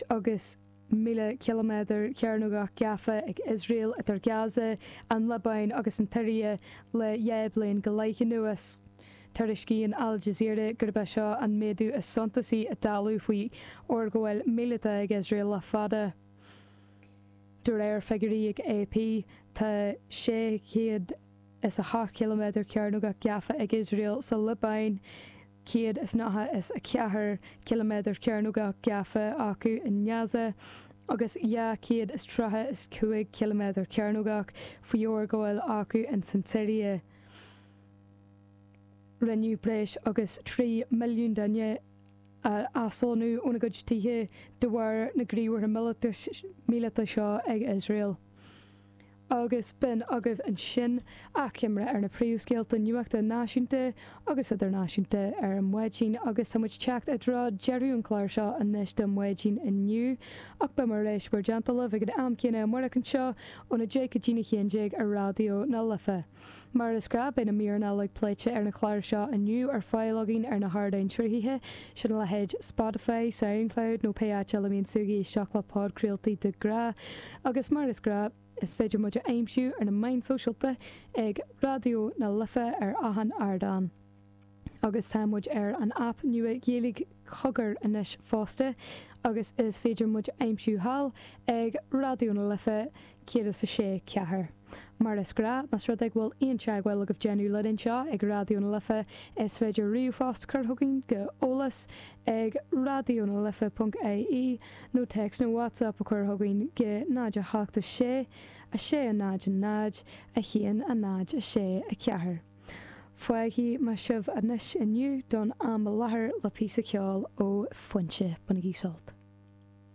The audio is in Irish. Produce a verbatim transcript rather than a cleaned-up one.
agus míle ciliméadar cearnógach gafa ag Iosrael idir Gaza, an Liobáin agus an tSiria le dhá bliain go leith anuas. Tuairiscíonn Al Jazeera gurb é seo an méadú is suntasaí i dtalamh faoi fhorghabháil míleata ag Iosrael le fada. De réir figiúirí ag AP tá sé chéad is a hocht ciliméadar cearnógach gafa ag Iosrael sa Liobáin, céad is nócha is a ceathair ciliméadar cearnógach gafa acu i nGaza agus dhá chéad is tríocha is cúig ciliméadar cearnógach faoi fhorghabháil acu in san tSiria. Rinneadh breis agus trí milliún duine a aslonnú óna gcuid tithe de bharr na ngníomhartha míleata seo ag Iosrael. Agus b'in agaibh ansin achoimre ar na príomhscéalta nuachta náisiúnta agus idirnáisiúnta ar an maidin agus tá muid teacht i dtreo deireadh an chláir seo anois don mhaidin inniu ach beidh mé ar ais bhur dteannta libh ag an am céanna amárach anseo óna deich go dtí a haon déag ar Raidió na Life. Mar is gnách beidh na míreanna uilig pléite ar an chlár seo inniu ar fáil againn ar na hardáin sruthaithe sin a leithéid Spotify, SoundCloud nó pé áit eile a mbíonn tú ag éisteacht le podchraoltaí de ghnáth agus mar is gnách is féidir muid a aimsiú ar na meáin sóisialta ag Raidió na Life ar achan ardán. Agus tá muid ar an aip nua Ghaeilge Cogar anois fosta agus is féidir muid a aimsiú thall ag Raidió na Life céad is a sé ceathair. Mar is gnách más rud é go bhfuil aon teagmháil agaibh déanamh linn anseo ag Raidió na Life is féidir ríomhphost cur chugainn go eolas ag raidionalife.ie nó text nó WhatsApp a chur chugainn go náid a hocht a sé a sé a náid a náid a haon a náid a sé a ceathair. Fágfaidh mé sibh anois inniu don am i láthair le píosa ceoil ó Foinse bainigí sult.